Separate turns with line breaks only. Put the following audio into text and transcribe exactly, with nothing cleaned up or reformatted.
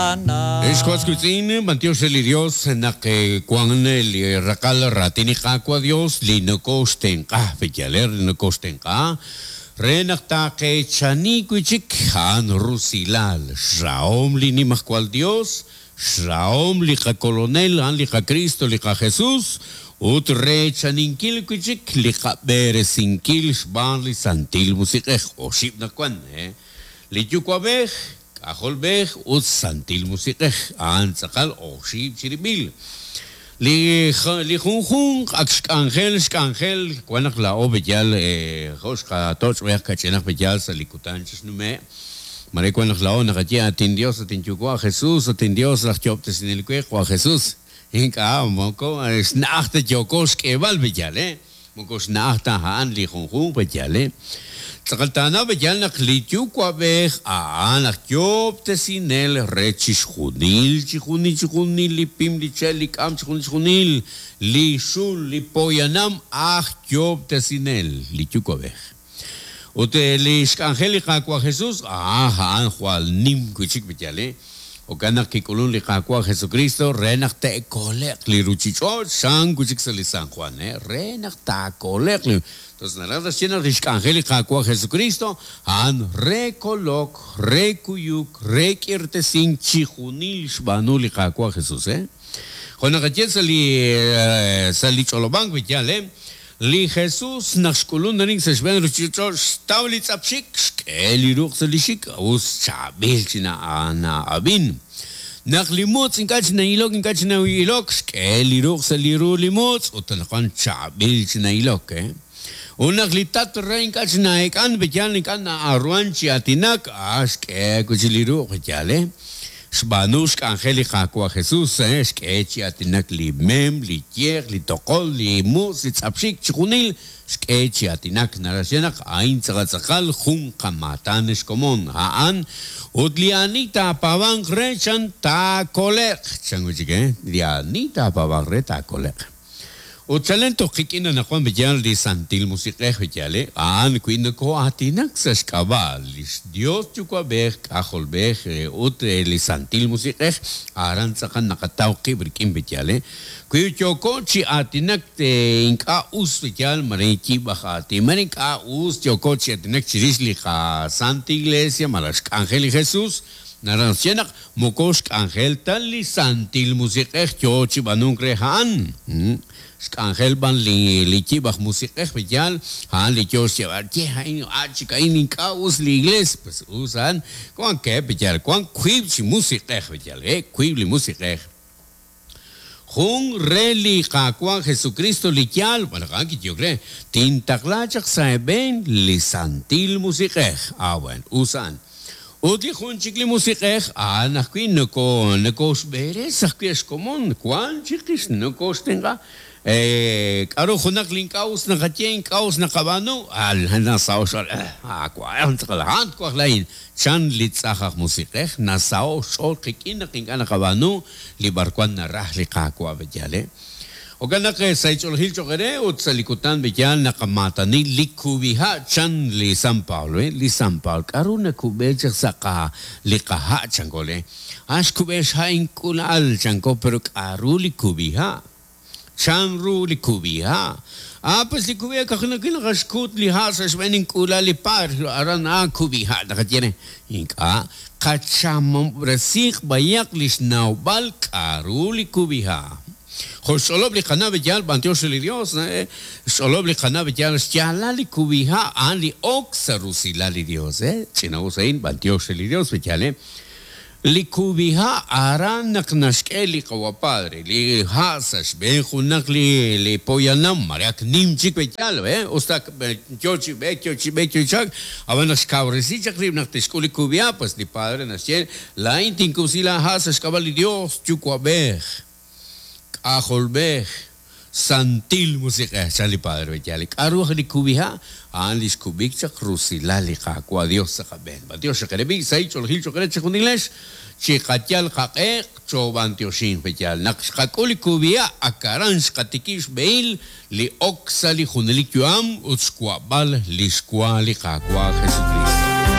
Ex was wiitz'in, b'antiox re li Dios naq wan li raqal raatin li Qaawa' Dios li nokoxtenq'a, peyaler li nokoxtenq'a re naq taaqeechani wi' chik a'an rusilal, xrahom li Nimajwal Dios, xrahom li qakolonel, a'an li qaKristo, li qaJesus, ut reechaninkil wi' chik li qab'eresinkil xb'aan li Santil Musiq'ej. Oxib' naq wan, eh? Li Yuwa'b'ej, K'ajolb'ej ut Santil Musiq'ej, a'an tz'aqal oxib' chirib'il. Li li junjunq ak xk'anjel xk'anjel wan naq laa'o b'eyal jo' xqatoch' b'eyaq kach'inaq b'eyal sa' li kutan chixnume'. Mare wan naq laa'o naqaye atin Dios, atin Yuwa' Jesus, atin Dios laj yo'ob'tesinel we, Qwa Jesus. Ink'a' moko xna'aj ta yooko xk'eeb'al b'eyal, eh? Moko xna'aj ta a'an li junjunq b'eyal, eh? Tz'aqal taanaw b'eyal naq li Yuwa'b'ej a'an aj yo'ob'tesinel re chixjunil, chixjunil, chixjunil li pim, li che', li k'am, chixjunil, chixjunil, li xul, li poyanam aj yo'ob'tesinel, li Yuwa'b'ej. Ut li xk'anjel li Qaawa' Jesus, ah, a'an jwal nim wi' chik b'eyal, eh? Jo'kan naq kik'ulun li Qaawa' Jesucristo re naq te'kole'q li ruchich'och' xan wi' chik sa' li San Juan, eh? Re naq taakole'q li. Entonces, naraj naxye naq li xk'anjel li Qaawa' Jesucristo a'an re kolok, re kuyuk, re k'irtesink chijunil xb'aanu li Qaawa' Jesus, eh? Jo' naqaye sa' li sa' li ch'olob'ank b'eyal, eh? Li Jesus naq xk'ulun arin sa' xb'een ruchich'och' xtaw li tz'apxik, xk'e li ruq' sa' li xik, us chaab'il chi na'ab'in. Naq li mutz' ink'a' chi na'ilok, ink'a' chi na'ilok, xk'e li ruq' sa' li ru li mutz' ut anaqwan chaab'il chi na'ilok, eh? Ut naq li tat re ink'a' chi na'ek'an, b'eyal ink'a' na'arwan chi aatinak, ah, xk'e wi' chi li ruq' b'eyal, eh? Xb'aanu xk'anjel li Qaawa' Jesus, eh? Xk'e chi aatinak li mem, li yeq, li toqol, li mutz', li tz'apxik, chixjunil xk'e chi aatinak. Naraj naq a'in tz'aqal jun qamaatan xkomon a'an ut li ani taapaab'anq re chan taakole'q. Chan wi' chik, eh? Li ani taapaab'anq re taakole'q. Ut chalen toj qik'in anaqwan b'eyal li Santil Musiq'ej b'eyal, eh? A'an wi' nokoo'aatinak sa' xk'ab'a' li Dios Yuwa'b'ej, K'ajolb'ej ut li Santil Musiq'ej, aran tz'aqal naqataw qib' rik'in b'eyal, eh? Wi yooko chi aatinak ink'a' us b'eyal, mare yib'aj aatin, mare ink'a' us yooko chi aatinak chirix li qaSanta Iglesia, malaj xk'anjel li Jesus, naraj naxye naq moko xk'anjel ta li Santil Musiq'ej yo chi b'anunk re a'an. Xk'anjel b'an li li yib'aj musiq'ej b'eyal, a'an li yo xyeeb'al, ye a'in a chik a'in ink'a' us li iglesia, pues us a'an, wan ke b'eyal, wan wiib' chi musiq'ej b'eyal, eh, wiib' li musiq'ej. Jun re li Qaawa' Jesucristo li yaal, bueno, a'an kiyok re, tintaqla chaq sa' eeb'een li Santil Musiq'ej. Ah, bueno, us a'an. Ut li jun chik li musiq'ej, a'an ajwi' noko nokoxb'eres ajwi' xkomon, wan chiqix nokoxtenq'a. Eh, k'aru junaq li ink'a' us naqaye, ink'a' us naqab'aanu, al nasaho' xch'ool, ah, wan tz'aqal a'an twaj laa'in. Chan li tz'aj aj musiq'ej, nasaho' xch'ool qik'in naq ink'a' naqab'aanu li b'arwan naraj li Qaawa' b'eyal, eh? Jo'kan naq sa' ch'oolejil cho'q re ut sa' li kutan b'eyal naqamaatani li kub'iha' chan li San Pablo, eh? Li San Pablo, k'aru nakub'e chaq sa' qa li qaha' chanko, eh? Ah, xkub'e xha' ink'ula'al chanko, pero k'aru li kub'iha'? Chan ru li kub'iha'. Ah, pues li kub'iha' kajunaq naqaxkut li ha' sa' xb'een ink'ula li par, aran ah kub'iha' naqaye re. Ink'a' qachamob'resiq b'ayaq li xnawb'al k'aru li kub'iha'. Jo' xch'olob' li qana' b'eyal b'antiox li Dios, eh? Xch'olob' li qana' b'eyal xyaalal li kub'iha' a'an li ok sa' rusilal li Dios, eh? Ch'ina'us a'in b'antiox li Dios b'eyal, eh? Li kub'iha' aran naq naxk'e li Qawa' Padre, li ha' sa' xb'een junaq li li poyanam, mare ak nim chik b'eyal, eh? Usta yo chi b'eek, yo chi b'eek, yo chi chak, ab'an naq xkawresi chaq rib' naq tixk'ul li kub'iha', pues li Padre naxye, laa'in tinkub'si la ha' sa' xk'ab'a' li Dios Yuwa'b'ej, K'ajolb'ej, Santil Musiq'ej, chan li Padre b'eyal. K'aru aj li kub'iha'? A'an li xkub'ik chaq rusilal li Qaawa' Dios sa' qab'een. B'antiox xaqereb'i, sa' ch'oolejil cho'q re chixjunilex, chiqayal qaq'e choob'antioxin b'eyal. Naq xqak'ul li kub'iha', ak aran xqatikib' xb'ehil li ok sa' li junelik yu'am ut xwa'b'al li xwa li Qaawa' Jesucristo.